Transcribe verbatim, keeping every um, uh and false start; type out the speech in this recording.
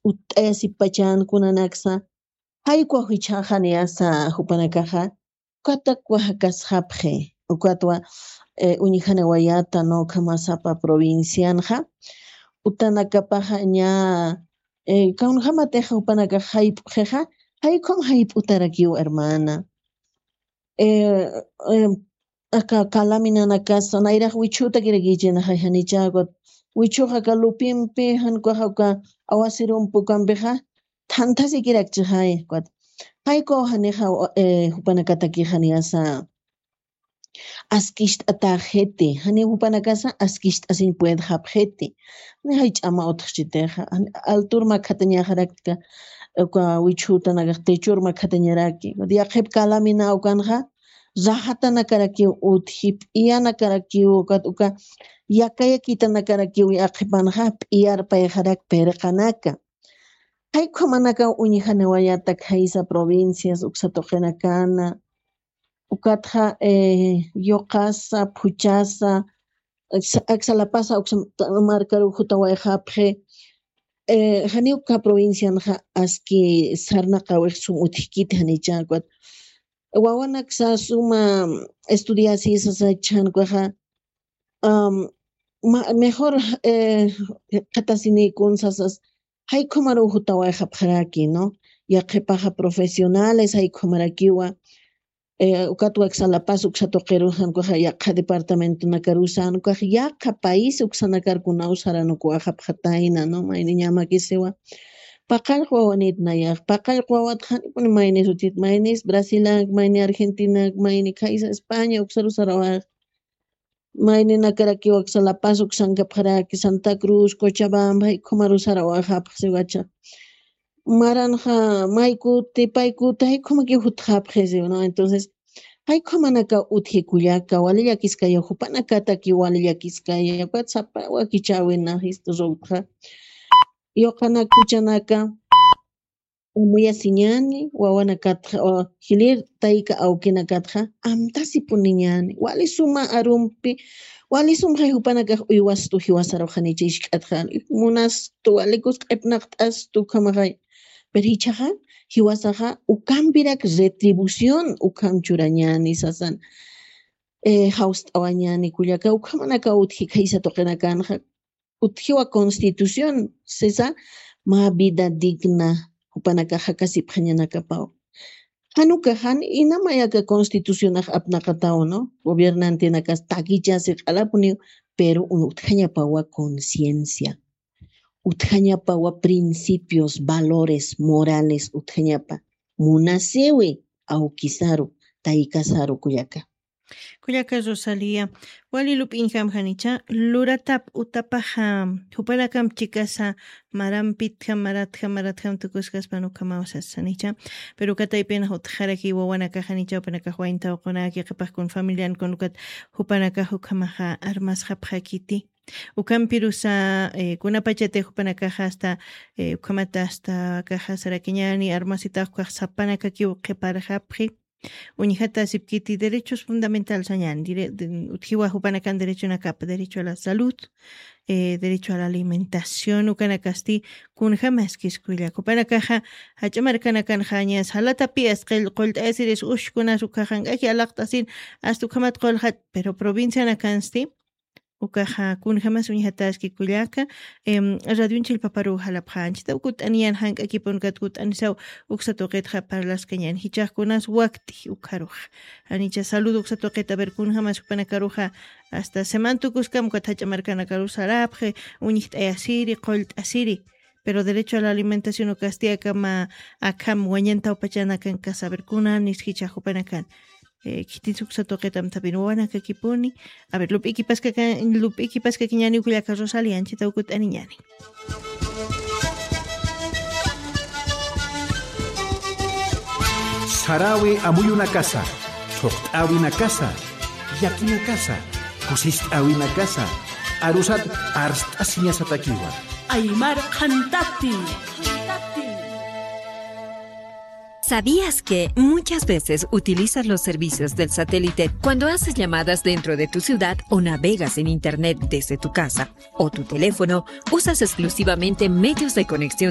utt'ayasipachan kunanaksa, jaykwa jichhaxaniyasa jupanakaxa, ukatakwa jakasxapxi, ukatwa, eh, uñjanawayata, no, ukhamasapa provincianxa, utanakapaxa ña, eh, kawnjamatixa jupanakax jayp'xixa, jaykhum jayp'utarakiw, hermana. Eh, eh, aka kalaminanakasa, nayrax wichhutakirakichinaxa janichakut. Wichhuxa aka lupimpi, jan ukaxa uka awasirumpi ukampixa, thantasikirakchixay, ukat. Jayku janixa, eh, jupanakatakixaniyasa askist'atäxiti, jani jupanakasa askist'asiñ puedxapxiti. Ni jay ch'ama utxchitixa, jan altur makhatañaxaraktika, uka wichhutanakax techur makhatañaraki. Yaqhip kalamina ukanxa, rajatanakarakiw utji, p'iyanakarakiw, ukat uka yakayakitanakarakiw yaqhipanxa, p'iyarpayxarak pirqanaka. Jay ukhamanakaw uñjaniwayata khaysa provincias uksa tuqinakana, ukatxa, eh, yuqasa, phuchasa, aksa-, aksalapasa, uksa markaruw jutawayxapxi, eh, janiw uka provincianxa aski sarnaqawix sum utjkiti janicha, ukat wawanaksa suma estudiasi sasa chhan ukaxa, am, ma-, mejor, eh, qhatasinïkun sasas, jaykhumaruw jutawayxapxaraki, ¿no? Yaqhipaxa profesionales, jaykhuamarakiwa, eh, ukatwa aksalapasa uksa tuqirusa, jan ukaxa yaqha departamentonakarusan, ukax yaqha país uksanakar kunaw saranukuwayxapxatayna, ¿no? Mayni ñamakisiwa. Paqallq wawanït nayax, paqallq wawat janipuni maynis utjit, maynis Brasilank, mayni Argentinanak, mayni khaysa España uksaru sarawayx. Mayninakarakiw aksalapasa uksankapxaraki, Santa Cruz, Cochabamba, jaykhumaru sarawayxapxi siwacha. Maranxa maykuti, paykuti, jaykhumakiw jutxapxi siwa, ¿no? Entonces, jaykhumanakaw utji kullaka, wali llakiskaya, jupanakatakiw wali llakiskaya, ukat sapa wakichäwinxa, jistu sawtxa. Yuqanak juchanaka, amuyasiñäni, wawanakatxa, o, jilïr tayka awkinakatxa, amtasipuniñäni, wali suma arumpi, wali sumxay jupanakax uywastu jiwasaruxanicha jisk'atxa, munastu, walikus q'ipnaqt'astu, ukhamaxay. Pero jichhaxa, jiwasaxa, ukampirak retribución, ukham churañäni sasan, eh, jawst'awañäni kullaka, ukhamanakaw utji khaysa tuqinakanxa, utjiwa constitución, sisa, mä vida digna, jupanakax jakasipxañanakapaw. Jan ukax jan inamay aka constitucionax apnaqataw, ¿no? Gobiernantenakas takichasi q'alapuniw, pero utjañapawa conciencia, utjañapawa principios, valores, morales, utjañapa. Munasiwi, awkisaru, taykasaru kullaka. Kullaka Rosalía, wali lup'iñjam janicha, luratap utapaxa, jupanakamp chikasa, marampitjam, maratjam, maratjam tukuskaspan ukhamaw sasanicha, pero kataypinx utjaraki wawanakax janicha, jupanakax wayntaw qunaki, qhipax kun familian kun ukat jupanakax ukhamaxa armasxapxakiti. Ukampirusa, eh, kunapachati jupanakaxa hasta, eh, ukhamata hasta akaxa sarakiñäni, armasitax ukax sapanakakiw qhiparxapxi. Uñjatasipkiti derechos fundamentales sañäni, dire-, de-, utjiwa jupanakan derechonakapa, derecho a la salud, eh, derecho a la alimentación, ukanakasti kunjamaskis kullaka. Jupanakaxa, jach'a markanakanxa ña salatapi asqill qullt'ayasiris ushkunas ukaxa jank'aki alaqt'asin, hasta ukhamat qullxat, pero provincianakansti, ukaxa, kunjamas uñjataski kullaka, em, radion chillpaparu jalapxä, anchitaw kut'aniñän jank'akipun kat kut'anisaw uksa tuqitxa parlaskañän, jichhax kunas wakti ukharuxa. Janicha salud uksa tuqit, a ver, kunjamas jupanakaruxa, hasta seman tukuskam ukat jach'a markanakaru sarapxi, uñjt'ayasiri, qullt'asiri. Pero derecho a la alimentación ukasti akama, akham wañantawpachanakan ka saber kunanis jichha jupanakan. Eh, khitis uksa tuqit amtapin wawanakakipuni. A ver, lup'ikipaskaka-, lup'ikipaskakiñäni kullaka Rosalía, anchitaw kut'aniñäni. Saräwi amuyunakasa, thuqt'äwinakasa, llakinakasa, kusist'äwinakasa, arusat arst'asiñasatakiwa. Aymar Qhantati. ¿Sabías que muchas veces utilizas los servicios del satélite cuando haces llamadas dentro de tu ciudad o navegas en internet desde tu casa o tu teléfono? Usas exclusivamente medios de conexión